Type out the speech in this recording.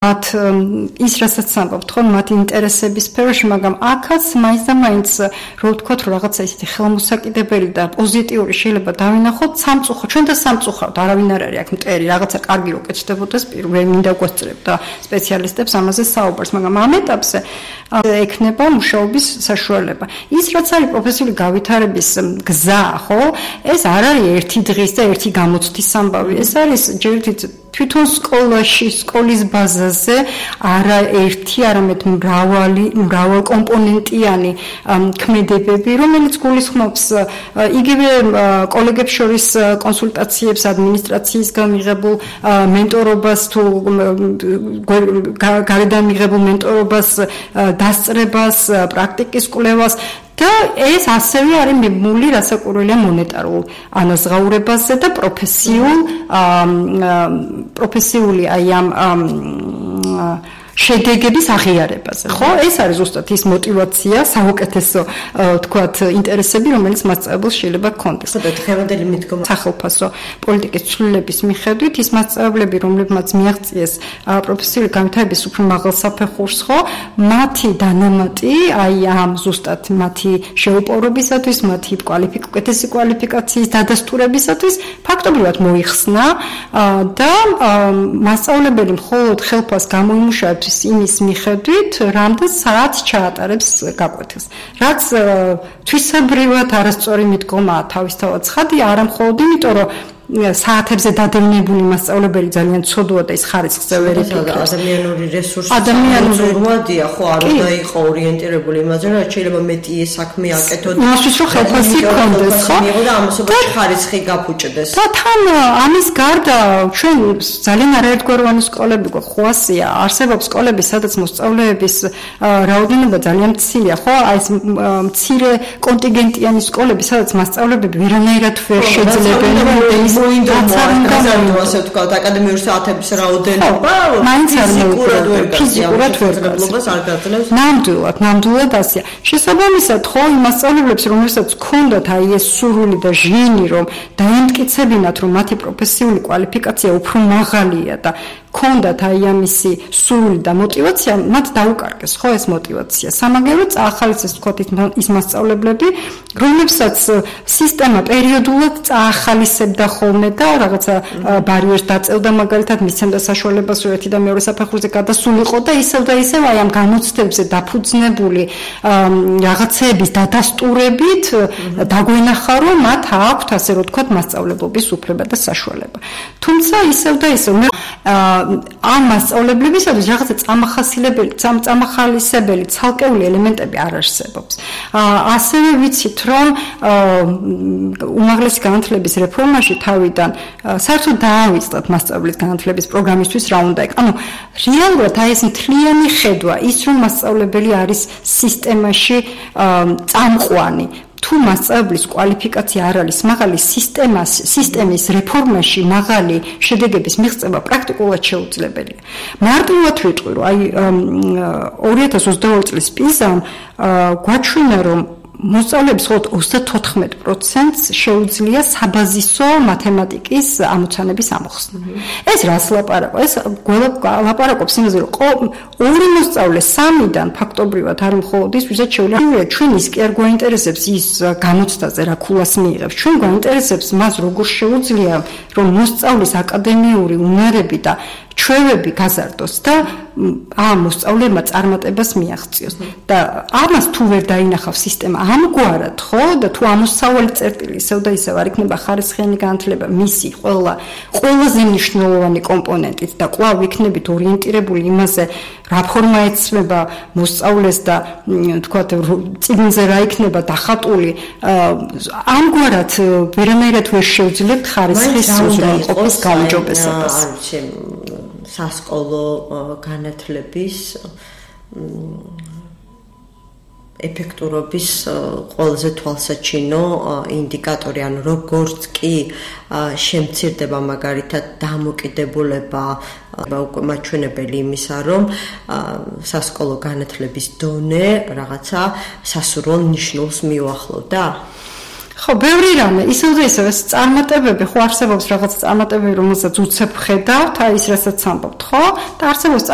მათ ის რასაც ამბობთ ხო მათ ინტერესების სფეროში, მაგრამ აქაც მაინც და მაინც რო ვთქვათ რომ რაღაცა ისეთი ხელმოსაკიდებელი და პოზიტიური შეიძლება დავინახოთ სამწუხო ჩვენ და სამწუხაროდ არავინ არ არის აქ მტერი რაღაცა კარგი რო კეთდებოდეს პირველი მინდა გვესწრებ და სპეციალისტებს ამაზე საუბარს, მაგრამ ამ ეტაპზე ექნება მუშაობის საშუალება. ის რაც არის პროფესიული გავითარების გზა, ხო? ეს არ არის ერთი დღის და ერთი გამოცდის ამბავი. ეს არის ჯერჯერობით თვითონ სკოლაში, სკოლის ბაზაზე არა ერთი, არამედ მრავალკომპონენტიანი ქმედებები, რომელიც გულისხმობს იგივე კოლეგებს შორის კონსულტაციებს, ადმინისტრაციისგან მიღებულ მენტორობას თუ გარედან მიღებულ მენტორობას, დასწრებას, პრაქტიკის კვლევას და ეს ასევე არის მიბმული რასაკვირველია მონეტარულ ანაზღაურებაზე და პროფესიული აი ამ შედეგების აღიარებაზე, ხო? ეს არის ზუსტად ის мотиваცია, საუკეთესო თქვათ ინტერესები, რომელიც მასწავლებელს შეიძლება ჰქონდეს. ხოდა დღევანდელი მიდგომა სახელმწიფო პოლიტიკის ცვლილების მიხედვით ის მასწავლებლები, რომლებმაც მიაღწიეს პროფესიული განვითარების უფრო მაღალ საფეხურს, ხო? მათი დანამატი აი ამ ზუსტად მათი შეუპოვრობისათვის, მათი უკეთესი კვალიფიკაციის დადასტურებისათვის ფაქტობრივად მოიხსნა და მასწავლებელი მხოლოდ ხელფას გამოიმუშავებს იმის მიხედვით, რამდენ საათს ჩაატარებს გაკვეთილს. რაც თვისებრივად არასწორი მიდგომაა თავისთავად ცხადი, არა მხოლოდ იმიტომ, რომ საათებზე დადევნებული მასწავლებელი ძალიან ცოდოა და ის ხარისხზე ვერ იფიქრებს. ადამიანური რესურსი რვადია, ხო, არ უნდა იყო ორიენტირებული იმაზე, რომ შეიძლება მეტი საქმე აკეთოთ. იმისთვის რომ ხელფასი გქონდეს, ხო? და ამასობაში ხარისხი გაფუჭდეს. და თან ამის გარდა ჩვენ ძალიან არაერთგვაროვანი სკოლები გვაქვს, ხო ასია, არსებობს სკოლები, სადაც მოსწავლეების რაოდენობა ძალიან მცირეა, ხო? აი ეს მცირე კონტინგენტიანი სკოლები, სადაც მასწავლებები ვერანაირად ვერ შეძლებენ ასე ვთქვათ, აკადემიური საათების რაოდენობა ფიზიკურად ვერ გაძლევს. ნამდვილად ასია. შესაბამისად, ხო, იმ მასწავლებლებს, რომელსაც ჰქონდათ აი ეს სურვილი და ჟინი, რომ დაემტკიცებინათ, რომ მათი პროფესიული კვალიფიკაცია უფრო მაღალია და ჰქონდათ აი ამისი სურვილი და мотиваცია, მათ დაუკარგეს, ხო, ეს мотиваცია. სამაგერო წაახალისეს ვთქვათ ის მასწავლებლები, რომლებსაც სისტემა პერიოდულად წაახალისებდა ხოლმე და რაღაცა ბარიერს დაწევდა, მაგალითად მისცემდა საშუალებას, რომ ერთი და მეორე საფეხურზე გადასულიყო და ისევ აი ამ განუცდებზე დაფუძნებული რაღაცეების დადასტურებით დაგვენახა, რომ მათ აქვთ, ასე რომ ვთქვათ, მასწავლებლობის უფლება და საშუალება. თუმცა ისევ ამ მასწავლებლებისათვის რაღაცა წამახალისებელი ცალკეული ელემენტები არ არსებობს. ასევე ვიცით, რომ უმაღლესი განათლების რეფორმაში თავიდან საერთოდ დაავიწყდათ მასწავლებლის განათლების პროგრამისთვის რა უნდა იქ. ანუ რეალურად აი ეს მთლიანი ხედვა, ის რომ მასწავლებელი არის სისტემაში წამყვანი, თუ მასწავლებლის კვალიფიკაცია არ არის მაღალი, სისტემის რეფორმაში მაღალი შედეგების მიღწევა პრაქტიკულად შეუძლებელია. მარტივად ვიტყვი, რომ აი 2022 წლის პიზამ გვაჩვენა, რომ მოსწავლეების 34%-ს შეუძლია საბაზისო მათემატიკის ამოცანების ამოხსნა. ეს რას ლაპარაკობს? ეს ლაპარაკობს იმაზე, რომ ორი მოსწავლე 3-დან ფაქტობრივად არ მხოლოდ ის, ვისაც შეუძლია ჩვენ ის კი არ გვაინტერესებს ის გამოცდაზე რა ქულას მიიღებს. ჩვენ გვაინტერესებს მას როგორ შეუძლია, რომ მოსწავლის აკადემიური უნარები და ჩვევები გაზარდოს და ამ მოსწავლეებმა წარმატებას მიაღწიოს. და ამას თუ ვერ დაინახავს სისტემა ამგვარად, ხო, და თუ ამოსავალი წერტილი ისევ და ისევ არ იქნება ხარისხიანი განათლება მისი ყველაზე მნიშვნელოვანი კომპონენტით და კვლავ იქნებით ორიენტირებული იმაზე, რა ფორმა ეცვება მოსწავლეს და თქვათ წიგნზე რა იქნება დახატული, ამგვარად ვერანაირად ვერ შევძლებთ ხარისხის უზრუნველყოფის გაუმჯობესებას. სასკოლო განათლების ეფექტურობის ყველაზე თვალსაჩინო ინდიკატორი, ანუ როგორც კი შემცირდება მაგალითად დამოკიდებულება უკვე მაჩვენებელი იმისა, რომ სასკოლო განათლების დონე რაღაცა სასურველ ნიშნულს მიუახლოვდა. ხო, ბევრი რამე, ისევ და ისევ ეს წარმატებები, ხო არსებობს რაღაც წარმატებები, რომელსაც უცებ ხედავთ, აი ის რასაც ამბობთ, ხო? და არსებობს